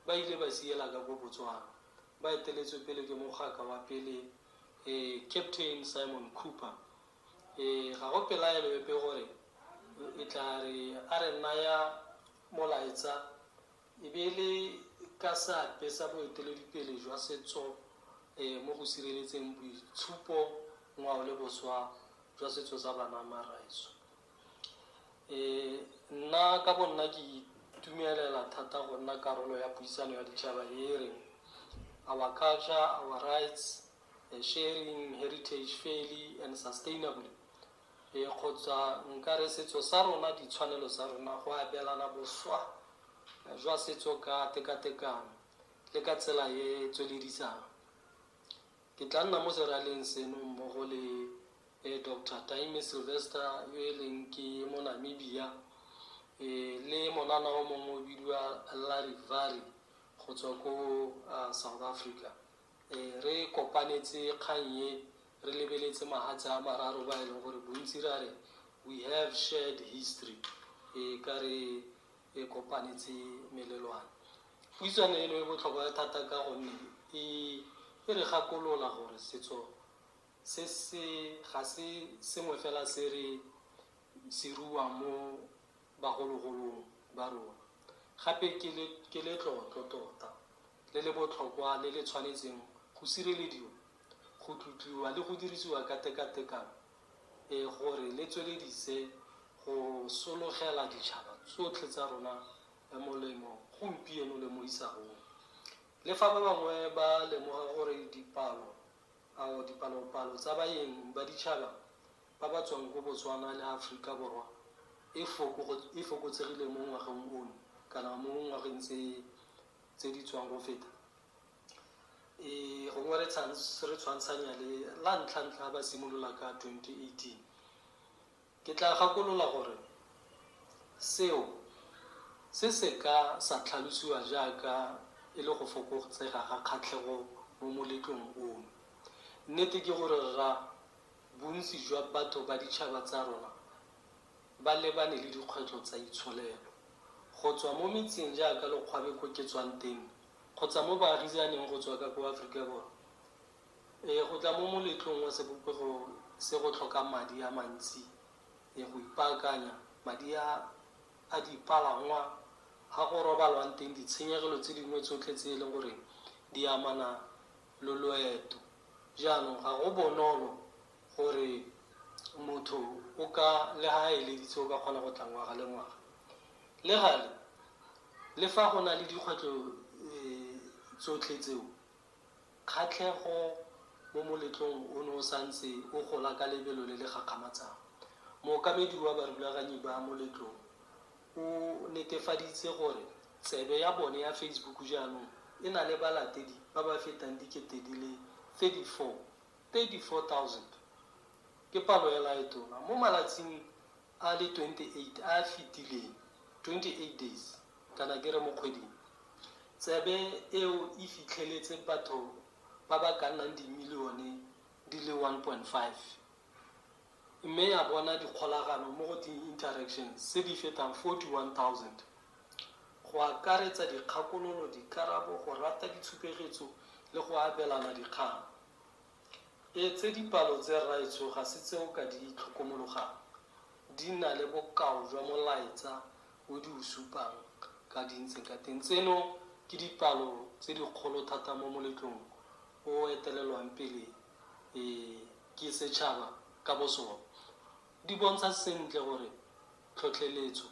ba ile ba siela ka ko Botswana ba eteletswe pele ke mogaka wa pele Captain Simon Cooper. Ga go pelaelo epe gore e tla re a re naya molaetsa e be e le ka seabe sa boeteledipele jwa setso mo go sireletseng boitshupo, ngwao le boswa jwa setso sa Banama rraetsho. Nna ka bo nna ke itumelela thata go nna karolo ya puisano ya ditšhaba e e reng Our Culture, Our Rights, Sharing Heritage Fairly and Sustainably, kgotsa nka re setso sa rona, ditshwanelo tsa rona, go abelana boswa jwa setso ka tekatekano le ka tsela e e tsweledisang. Ke tla nna mo seraleng seno mmogo le Doctor Taimi Sylvester yo e leng ke mo Namibia, le monana o mongwe o bidiwa Larry Vary go tswa ko South Africa. Re kopanetse kgang e re lebeletse mahatshe a mararo ba e leng gore bontsi ra re we have shared history, ka re e kopanetse melelwane. Puisano eno e botlhokwa thata ka gonne e re gakolola gore setso se se ga se sengwe fela se re se ruang mo bagologolong ba rona, gape ke letlotlo tota le le botlhokwa le le tshwanetseng go sirelediwa, go tlotliwa le go dirisiwa ka tekatekano gore le tsweledise go sologela ditšhaba tsotlhe tsa rona molemo gompieno le mo isagong. Le fa ba bangwe ba lemoga gore dipalo ao dipalopalo tsa baeng ba ditšhaba ba ba tswang ko Botswana le Aforika Borwa e fokotsegile mo ngwageng ono kana mo ngwageng tse di tswang go feta, gongwe re tshwantshanya le la ntlha-ntlha ba simolola ka 2018. Ke tla gakolola gore seo se se ka sa tlhalosiwa jaaka e le go fokotsega ga kgatlhego mo moletlong ono. Nnete ke gore rra, bontsi jwa batho ba ditšhaba tsa rona ba lebane le dikgwetlho tsa itsholelo. Go tswa mo metseng jaaka Lekgwabe ko ke tswang teng, kgotsa mo baagisaneng go tswa ka ko Aforika Borwa, go tla mo moletlong wa sebopego se go tlhoka madi a mantsi, go ipaakanya, madi a dipalangwa, ga go robalwang teng, ditshenyegelo tse dingwe tsotlhe tse e leng gore di amana le loeto. Jaanong ga go bonolo gore motho o ka le ha a eleditse o ka kgona go tla ngwaga le ngwaga. Le gale, le fa go na le dikgwetlho tsotlhe tseo, kgatlhego mo moletlong o ne o santse o gola ka lebelo le le gakgamatsang. Mookamedi wa barulaganyi ba moletlo o netefaditse gore tsebe ya bone ya Facebook jaanong e na le balatedi ba ba fetang dikete di le 34,000. Ke palo hela e tona. Mo malatsing a le 28 a a fetileng, 28 days, kana ke re mo kgweding, tsebe eo e fitlheletse batho ba ba ka nnang dimilione di le 1.5, mme ya bona dikgolagano mo go di-interactions tse di fetang 41,000, go akaretsa dikgakololo, dikarabo, go rata ditshupegetso le go abelana dikgang. Tse dipalo tse rraetsho ga se tse o ka di tlhokomologang, di na le bokao jwa molaetsa o di o supang ka di ntseng ka teng. Tseno ke dipalo tse dikgolo thata mo moletlong o etelelwang pele ke setšhaba ka bosona. Di bontsha sentle gore tlhotlheletso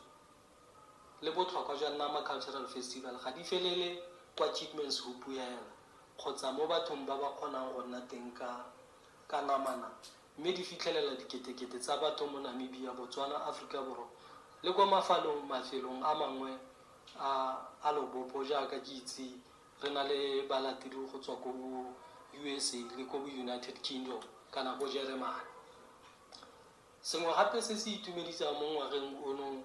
le botlhokwa jwa Nama Cultural Festival ga di felele kwa Keetmanshoop hela kgotsa mo bathong ba ba kgonang go nna teng ka namana, mme di fitlhelela diketekete tsa batho mo Namibia, Botswana, Aforika Borwa le kwa mafelong a mangwe a lobopo jaaka ke itse re na le balatedi go tswa ko USA le ko United Kingdom kana ko Jeremane. Sengwe gape se se itumedisang mo ngwageng ono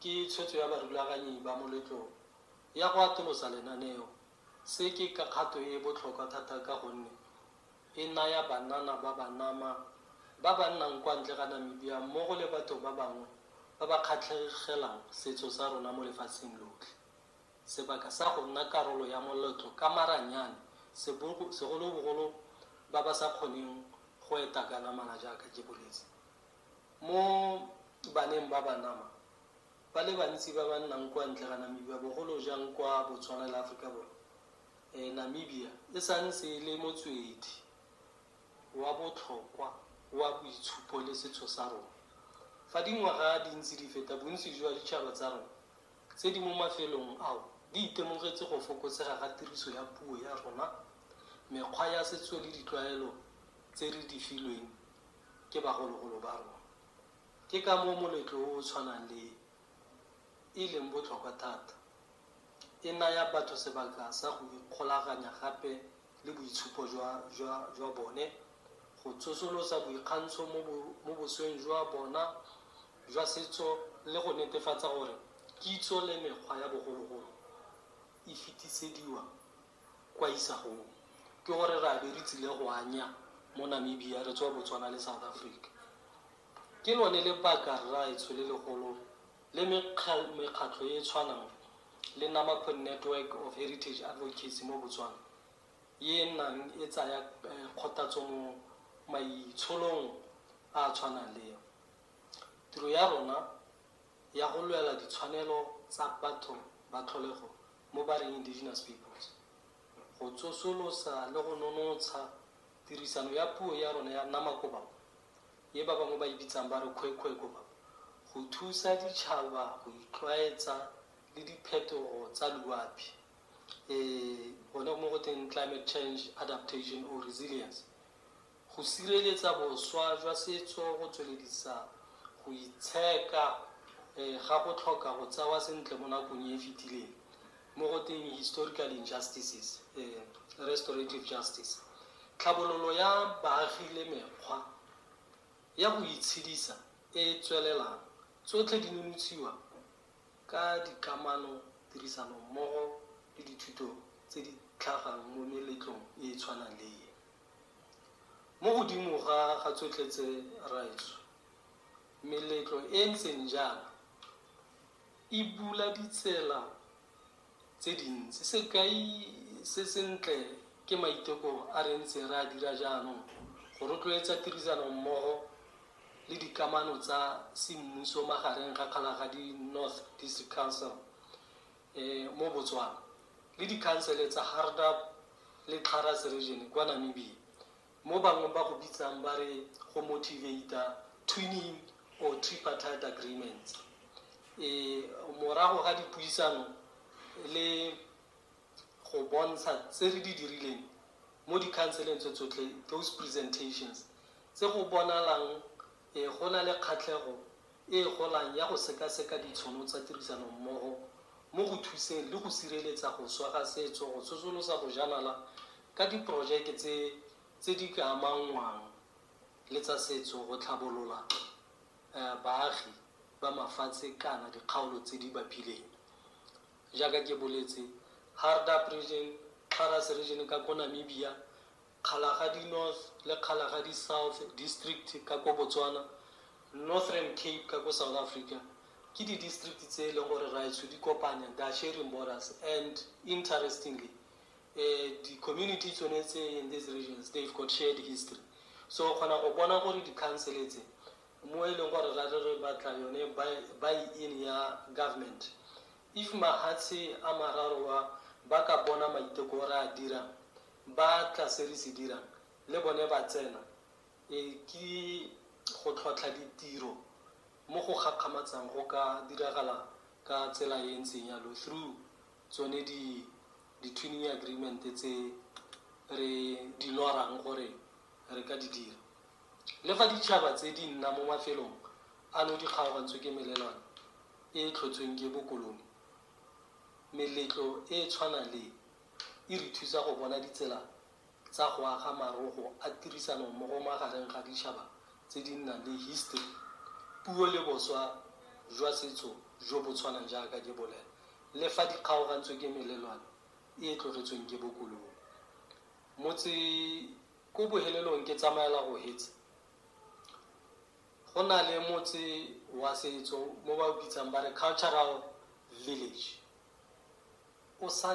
ke tshwetso ya barulaganyi ba moletlo ya go atolosa lenaneo. Se ke ka kgato e e botlhokwa thata ka gonne e naya banana ba Banama ba ba nnang kwa ntle ga Namibia mmogo le batho ba bangwe ba ba kgatlhegelang setso sa rona mo lefatsheng lotlhe. sebaka sa go nna karolo ya moletlo ka maranyane, segolobogolo ba ba sa kgoneng go eta ka namana jaaka ke boletse. Mo baneng ba banama, ba le bantsi ba ba nnang kwa ntle ga Namibia, bogolo jang kwa Botswana le Aforika Borwa, Namibia e santse e le motswedi wa botlhokwa wa boitshupo le setso sa rona. Fa dingwaga di ntse di feta, bontsi jwa ditšhaba tsa rona tse di mo mafelong ao di itemogetse go fokotsega ga tiriso ya puo ya rona, mekgwa ya setso le ditlwaelo tse re di filweng ke bagologolo ba rona. Ke ka moo moletlo o o tshwanang le e leng botlhokwa thata. E naya batho sebaka sa go ikgolaganya gape le boitshupo jwa bone, go tsosolosa boikgantsho mo bosweng jwa bona jwa setso le go netefatsa gore kitso le mekgwa ya bogologolo e fetisediwa kwa isagong. Ke gore re a be re tsile go anya mo Namibia re tswa Botswana le South Africa. Ke lone lebaka rraetsho le legolo le mekgatlho e e tshwanang le Nama Network of Heritage Advocacy mo Botswana e nnang e tsaya kgothatso mo maitsholong a a tshwanang le eo. Tiro ya rona ya go lwela ditshwanelo tsa batho ba tlholego mo ba reng indigenous peoples, go tsosolosa le go nonotsha tirisano ya puo ya rona ya Nama-Kobabo, e ba bangwe ba e bitsang ba re Khoekhoe-Kobabo, go thusa ditšhaba go itlwaetsa le diphetogo tsa loapi, gone mo go teng climate change adaptation or resilience, go sireletsa boswa jwa setso, go tsweledisa go itsheka ga go tlhoka go tsewa sentle mo nakong e e fetileng mo go teng historical injustices, restorative justice, tlhabololo ya baagi le mekgwa ya go itshedisa e e tswelelang, tsotlhe di nonotshiwa ka dikamano, tirisano mmogo le dithuto tse di tlhagang mo meletlong e e tshwanang le e. Mo godimo ga tsotlhe tse rraetsho, meletlo e ntseng jaana e bula ditsela tse dintsi. Sekai se sentle ke maiteko a re ntseng re a dira jaanong go rotloetsa tirisano mmogo le dikamano tsa semmuso magareng ga Kgalagadi North District Council mo Botswana le dikhansele tsa Hardap le Kharas region kwa Namibia, mo bangwe ba go bitsang ba re go motivate twinning or tripartite agreements. Morago ga dipuisano le go bontsha tse re di dirileng mo dikhanseleng tse tsotlhe, those presentations tse go bonalang go na le kgatlhego e golang ya go sekaseka ditšhono tsa tirisano mmogo mo go thuseng le go sireletsa go swa ga setso, go tsosolosa bojanala ka diporojeke tse di ka amanngwang le tsa setso, go tlhabolola baagi ba mafatshe kana dikgaolo tse di bapileng. Jaaka ke boletse, Hardap region, Kharas region ka ko Namibia, Kgalagadi North le Kgalagadi South District ka ko Botswana, Northern Cape ka ko South Africa, ke di-district tse e leng gore raetsho di kopanya, they are sharing borders. And interestingly, di-community tsone tse in these regions, they've got shared history. So kgona go bona gore di-council tse mo e leng gore ra re batla yone buy-in ya government, if mahatshe a mararo wa ba ka bona maiteko re a dirang, ba tla se re se dirang le bone ba tsena, ke go tlhotlha ditiro mo go gakgamatsang go ka diragala ka tsela e ntseng yalo through tsone di twinning agreement tse re di lorang gore re ka di dira. Le fa ditšhaba tse di nna mo mafelong ano di kgaogantswe ke melelwane e e tlhotsweng ke bokolone, meletlo e e tshwanang le e re thusa go bona ditsela tsa go aga marogo a tirisano mmogo magareng ga ditšhaba tse di nnang le history, puo le boswa jwa setso jo bo tshwanang jaaka ke bolela, le fa di kgaogantswe ke melelwane e e tlogetsweng ke bokolone. Motse ko bohelelong ke tsamaela go hetsa, go na le motse wa setso mo ba o bitsang ba re cultural village. O sa